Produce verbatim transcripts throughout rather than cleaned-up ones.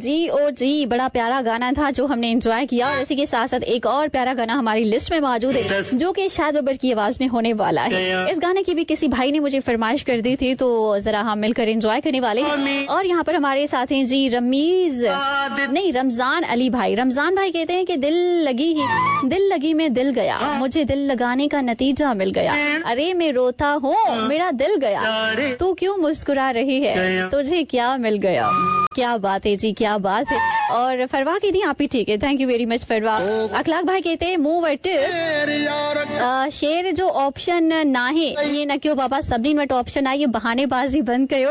जी ओ जी, बड़ा प्यारा गाना था जो हमने एंजॉय किया। और इसी के साथ साथ एक और प्यारा गाना हमारी लिस्ट में मौजूद है जो कि शाद बबर की आवाज में होने वाला है। इस गाने की भी किसी भाई ने मुझे फरमाइश कर दी थी, तो जरा हम मिलकर एंजॉय करने वाले हैं। और यहाँ पर हमारे साथ हैं जी रमीज नहीं रमजान अली भाई। रमजान भाई कहते हैं कि दिल लगी ही दिल लगी में दिल गया, मुझे दिल लगाने का नतीजा मिल गया, अरे मैं रोता हूँ मेरा दिल गया, तू क्यों मुस्कुरा रही है, तुझे क्या मिल गया। क्या बात है जी, क्या बात है। और फरवा की थी आप ही, ठीक है, thank you very much फरवा। अखलाक भाई कहते हैं मुंह वट शेर जो ऑप्शन ना है ये न क्यों बाबा सभिनी वटि ऑप्शन आहे, ये बहानेबाजी बंद कयो।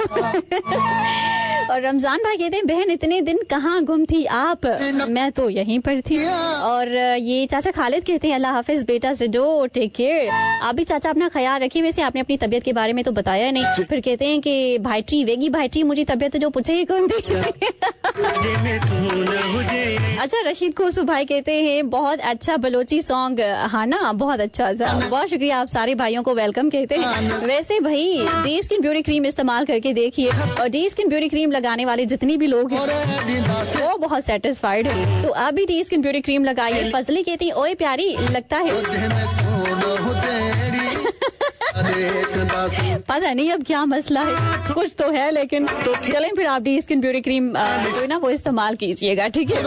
और रमजान भाई कहते हैं बहन इतने दिन कहाँ गुम थी आप, मैं तो यहीं पर थी। और ये चाचा खालिद कहते हैं अल्लाह हाफिज बेटा सिडो टेक केयर। आप भी चाचा अपना ख्याल रखिए, वैसे आपने अपनी तबीयत के बारे में तो बताया नहीं। फिर कहते हैं कि भाईटी वेगी भाईटी मुझे तबीयत जो पूछे ही कौन थी। अच्छा रशीद खोसू भाई कहते हैं बहुत अच्छा बलोची सॉन्ग, हाँ ना बहुत अच्छा था, बहुत शुक्रिया आप सारे भाइयों को welcome कहते हैं। वैसे भाई डी स्किन ब्यूटी क्रीम इस्तेमाल करके देखिए, और डी स्किन ब्यूटी क्रीम लगाने वाले जितनी भी लोग हैं वो बहुत सेटिस्फाइड है, तो आप भी डी स्किन ब्यूटी क्रीम लगाइए। फजली कहती ओए प्यारी लगता है, पता नहीं अब क्या मसला है, कुछ तो है, लेकिन चलें फिर आप डी स्किन ब्यूटी क्रीम जो है ना वो इस्तेमाल कीजिएगा, ठीक है।